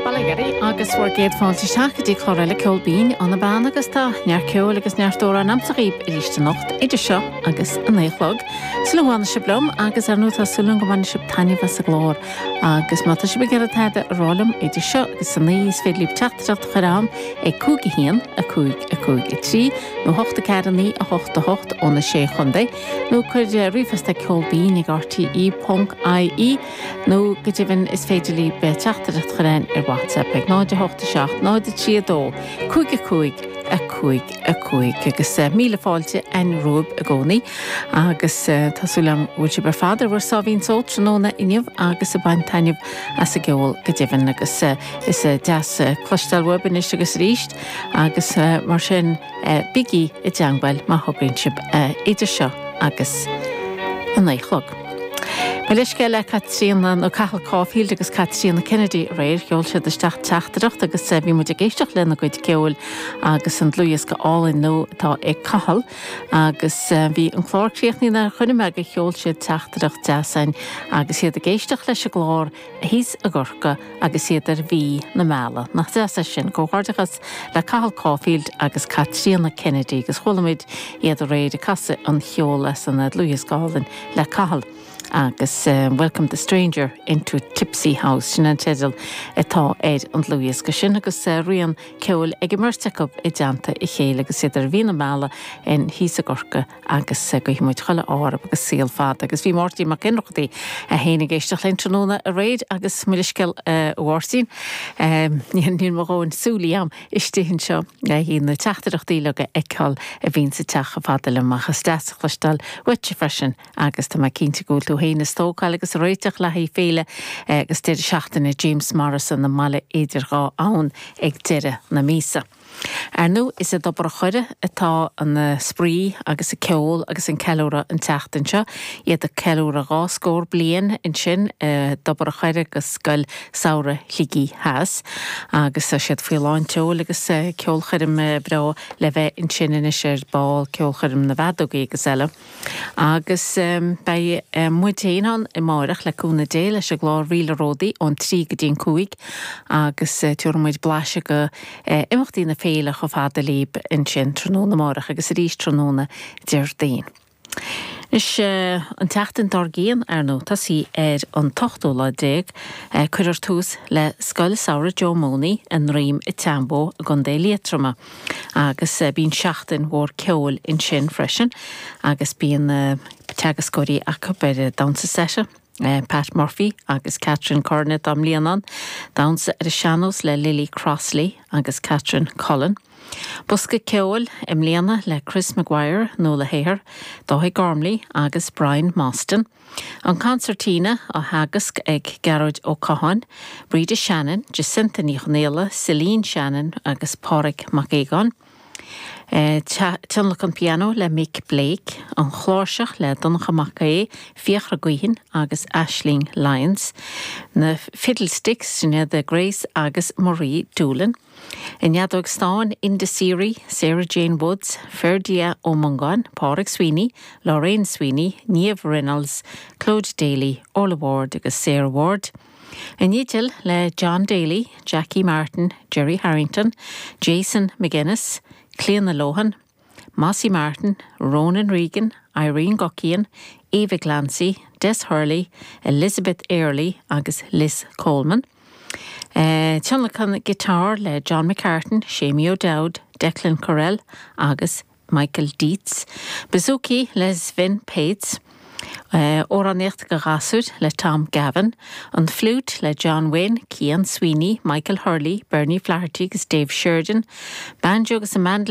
Bail ó Dhia oraibh agus bhur gcéad fáilte isteach go dtí clár eile Ceol Binn ón Bean agus tá neart ceoil agus neart amhrán a'msa dhaoib arís anocht idir seo agus a 9 a chlog. Súil agam go bhfanfaidh sibh liom agus ar ndóigh tá súil agam go mbainfidh sibh taitneamh as an gclár agus má tá sibh ag iarraidh tada a rá liom idir seo agus a 9 is féidir libh teachtaireacht a chur a'm ag 5 1 5 5 3 nó 8 4 9 8 8 ó na Sé Chontae nó cuir ríomhphost ag ceolbinn ag rte ponc ie Nó go deimhin is féidir libh teachtaireacht a chur a'ainn ar WhatsApp ag 0 8 7 0 3 2 5 5 5 5 Agus míle fáilte a'ainn romhaibh i gcónaí agus tá súil agam go bhfuil sibh ar fad ar bhur sáimhín só tráthnóna inniu agus ag baint taitneamh as an gceol go deimhin agus is deas cloisteáil uaibh anois agus arís agus mar sin Bígí i dteangmháil má thograíonn sibh idir seo agus a 9 a chlog. Mo leithscéal le Caitríona nó Cathal Caulfield agus Caitríona Kennedy aréir. Sheol siad isteach teachtaireacht agus bhí muid ag éisteacht lena gcuid ceoil agus an dlúthdhiosca álainn nua atá ag Cathal agus bhí an clár críochnaithe nuair a chonaic mé gur sheol siad teachtaireacht deas a'ainn agus iad ag éisteacht leis an gclár thíos i gCorcaigh agus iad ar mhí na meala. Nach deas é sin? Comhghairdeachas le Cathal Caulfield agus Caitríona Kennedy agus chuala muid iad aréir ag casadh an cheoil as an dlúthdhiosca álainn le Cathal agus Welcome the Stranger into Tipsy House, sin an teideal atá ar an dlúthdhiosca sin agus rian ceoil ag an mbeirt acu i dteannta a chéile agus iad ar mhí na meala in thíos i gCorcaigh. agus guífidh muid chuile ádh orthu agus saol fada. Agus bhí Máirtín Mac Ionnrachtaigh é féin ag éisteacht linn tráthnóna aréir agus mo leithscéal a Mháirtín, níl mo dhóthain súilí a'm istigh anseo le haghaidh na teachtaireachtaí uilig a fheiceáil a bhíonn ag teacht chomh fada liom ach is deas a chloisteáil uaitse freisin agus tá mé cinnte go bhfuil tú féin ag stócáil agus ag réiteach le haghaidh féile agus deireadh seachtaine James Morrison i mBaile Idir Dhá Abhainn ag deireadh na míosa. Ar ndóigh, is i dTobar an Choire atá an spraoi agus an ceol agus an ceiliúradh an tseachtain seo, iad ag ceiliúradh dhá scór bliain ansin i dTobar an Choire agus Scoil Samhraidh Shligigh Theas agus tá siad faoi lán tseoil agus ceolchoirm bhreá le bheith ansin anois ar ball, ceolchoirm na bhfeadógaí agus eile. Agus beidh muid féin ann amáireach le cúnamh Dé leis an gclár Ríle Ródaí ón 3 go dtí an 5 agus tabharfaidh muid blaiseadh de imeachtaí na féile chomh fada libh ansin tráthnóna amáireach agus arís tráthnóna Déardaoin. Anois, an tseachtain dár gcionn, ar ndóigh, tosaí ar an t-ochtú lá déag, cuirfear tús le Scoil Samhraidh Joe Mooney i nDroim an tSeanbhó i gContae Liatroma. Agus bíonn seachtain mhór ceoil ansin freisin agus bíonn teagascóirí acu ar damhsa seite, Pat Murphy agus Catherine Curran atá i mbliana ann, damhsa ar an sean-nós le Lily Crossley agus Catherine Cullen. Bosca ceoil i mbliana le Chris Maguire, Nuala Hehir, Dáithí Gormley agus Brian Mostyn. An Concertina á theagasc ag Gearóid Ó Catháin, Breda Shannon, Jacinta Ní Chonaola, Celine Shannon agus Páraic Mac Aogáin. Tionlacan pianó le Mick Blake, an chláirseach le Donncha Mac Aodha, Fiachra Gaoithin agus Aisling Lyons. Na Fiddlesticks, sin iad Grace agus Marie Doolan. An fheadóg stáin, Enda Seery, Sarah Jane Woods, Ferdia Ó Mongáin, Pádraig Sweeney, Lorraine Sweeney, Niamh Reynolds, Clodagh Daly, Orla Ward agus Sarah Ward. An fhidil le John Daly, Jackie Martin, Gerry Harrington, Jason McGuinness, Clíona Lohan, Mossy Martin, Ronan Regan, Irene Guckian, Eva Glancy, Des Hurley, Elizabeth Airlie agus Liz Coleman. Tionlacan guitar le John McCartan, Seamie O'Dowd, Declan Courell agus Michael Dietz. Bouzouki le Sven Pates. Amhránaíocht do ghasúir le Tom Gavin. An Fliúit le John Wynne, Cian Sweeney, Michael Hurley, Bernie Flaherty agus Dave Sheridan. Banjo agus an mandolin.